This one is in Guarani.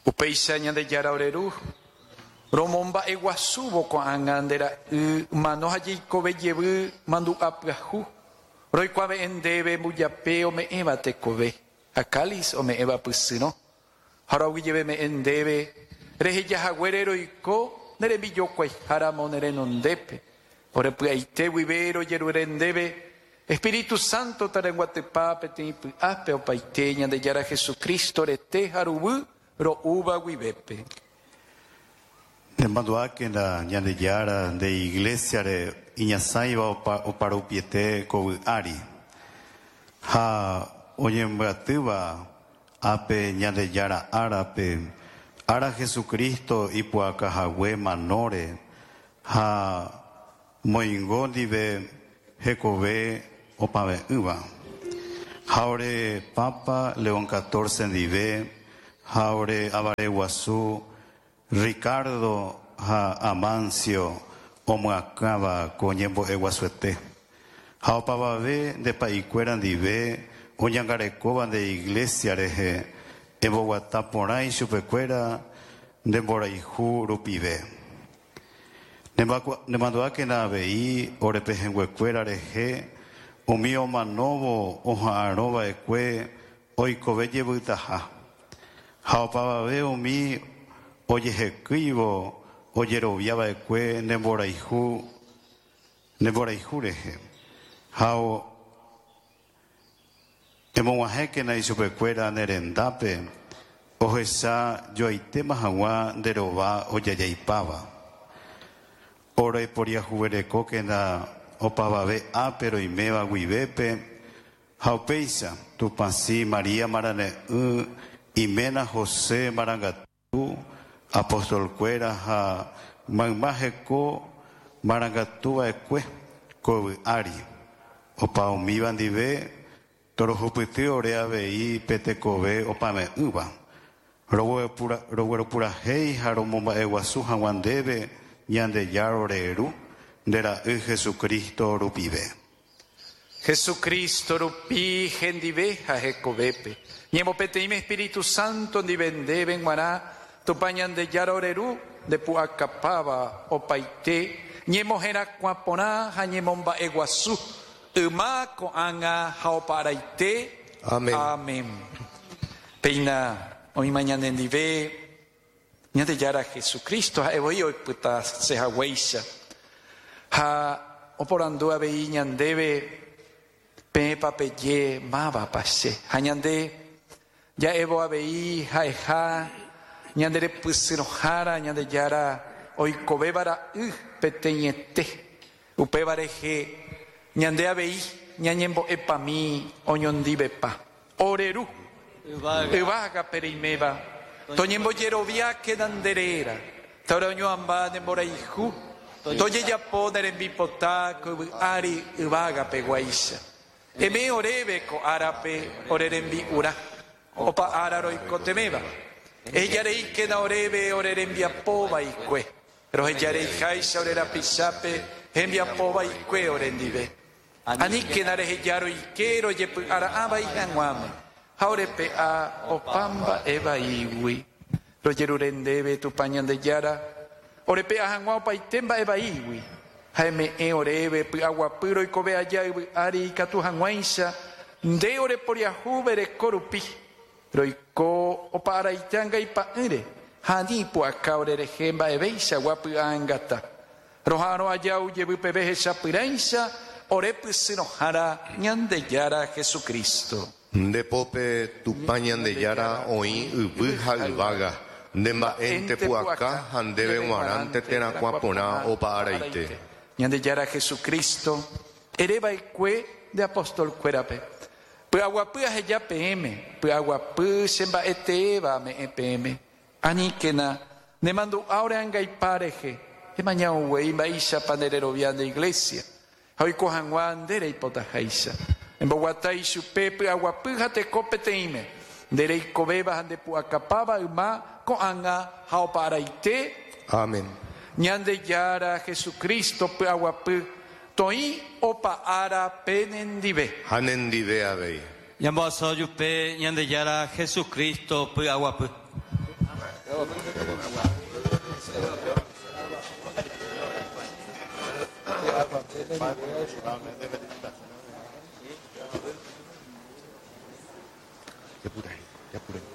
Upéicha Ñandejára ore Ru, romomba'eguasúvo ko'ág̃a nde Ra'y mano ha jeikove jevy mandu'a pyahu, roikuave'ẽ ndéve mbujape ome'ẽva tekove ha cáliz ome'ẽva pysyrõ, ha roaguyjeveme'ẽ ndéve reheja haguére roiko ne rembijokuaiha ramo ne renondépe, ore py'aite guive rojerure ndéve Espíritu Santo tarenguatypa peteĩ py'ápe opaite Ñandejára Jesucristo rete ha ruguy ro'úva guivépe. Nemandu'ákena Ñandejára nde iglésiare iñasãiva oparupiete ko yvy ári, ha oñembyatýva ápe Ñandejára árape, ára Jesucristo ipu'aka hague manóre ha Moingo ndive hekove opave'ỹva. Ha ore Papa León Catorce ndive ha ore avare guasu Ricardo ha Amancio omyakãva ko ñembo'e guasuete. Ha opavave nde pa'ikuéra ndive oñangarekóva nde Iglesia rehe emboguata porã ichupekuéra nde mborayhu rupive. Nemandu'ákena avei ore pehẽnguekuéra rehe umi omanóvo oha'arõ va'ekue oikove jevytaha, ha opavave umi ojehekýivo ojerovia va'ekue ne mborayhu ne mborayhu rehe, ha Emog̃uahẽkena ichupekuéra ne rendápe ohecha joaitéma hag̃ua nde rova ojajaipáva. Ore poriahuverekókena opavave ápe roiméva guivépe ha upéicha Tupãsy María Marane'ỹ iména José Marangatu Apóstol-kuéra ha mayma heko marangatu va'ekue ko yvy ári, opa umíva ndive torohupyty ore avei pe tekove opave'ỹva, rogueropurahéi ha romomba'eguasu hag̃ua ndéve Ñandejára ore Ru, nde Ra'y Jesucristo rupive. Jesucristo rupi hendive ha hekovépe. Ñemopeteĩme Espíritu Santo ndive ndéve g̃uarã, Tupã Ñandejára ore Ru, nde pu'akapáva opaite ñemoherakuã porã ha ñemomba'eguasu, yma, ko'ág̃a ha opa araite. Amén. Amén. Péina oĩma ñanendive Ñandejára Jesucristo ha'e voi oipytase haguéicha. Ha oporandu avei ñandéve, Peẽpa peje mávapa che? Ha ñande ja'évo avei ha'eha ñande repysyrõhára Ñandejára oikovéva ra'y peteĩete. Upéva rehe ñande avei ñañembo'epami oñondivepa. Ore Ru, yvágape reiméva, toñembojeroviákena nde réra, ta ore oñoamba ne mborayhu, tojejapo ne rembipota ko yvy ári yvágape guáicha. Eme'ẽ oréve ko árape ore rembi'urã, opa ára roikotevẽva. Eheja reíkena oréve ore rembiapo vaikue, roheja reiháicha ore rapichápe hembiapo vaikue orendive. Aníkena reheja roike rojepy'ara'ã vai hag̃uáme, ha orepe'a opa mba'e vaígui. Rojerure ndéve, Tupã Ñandejára, orepe'a hag̃ua opaite mba'e vaígui, ha eme'ẽ oréve py'aguapy roikove aja yvy ári ikatu hag̃uáicha nde oreporiahu vereko rupi, roiko opa araite angaipa'ỹre ha ani ipu'aka orerehe mba'evéichagua py'aangata. Roha'arõ aja ujevy peve hechapyrãicha ore pysyrõhára Ñandejára Jesucristo. Nde pópe Tupã Ñandejára oĩ yvy ha yvága, nde mba'énte pu'aka ha ndéve g̃uarãnte terakuã porã opa araite. Ñandejára Jesucristo, ere va'ekue nde apóstol kuérape, Py'aguapy aheja peẽme, py'aguapy che mba'e teéva ame'ẽ peẽme. Aníkena ne mandu'a ore angaipa rehe, emaña uguei mba'éichapa nde rerovia nde iglésia, ha oiko hag̃ua nde reipotaháicha. Emboguata ichupe py'aguapy ha teko peteĩme, nde reikovéva ha nde pu'akapáva yma, ko'ág̃a ha opa araite. Amén. Ñandejára Jesucristo py'aguapy toĩ opa ára penendive. Ha nendive avei. Ñambohasa ojupe Ñandejára Jesucristo py'aguapy. Japurahéi, japurahéi.